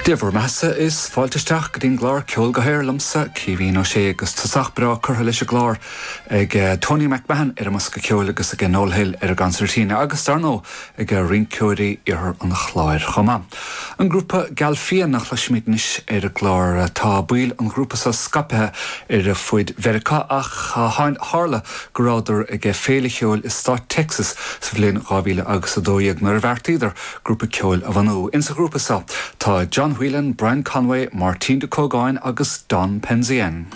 Dia bhur mbeathasa is fáilte isteach go dtí'n gclár Ceol go hAer liomsa, Caoimhín Ó Sé, agus tosach breá curtha leis an gclár ag Tony MacMahon ar an mbosca ceoil agus ag Noel Hill ar an gconsairtín agus, dar ndóigh, ag rinceoirí Iarthar an Chláir chomh maith. An grúpa Galfian a chloisfimid anois ar an gclár. Tá baill an ghrúpa seo scaipthe ar fuid Mheiriceá ach tharla go rabhadar ag féile cheoil i stát Texas sa bhliain 2012 nuair a bheartaíodar grúpa ceoil a bhunú. Insa ghrúpa seo tá John Whelan, Brian Conway, Máirtín Ó Cógáin agus Don Penzien.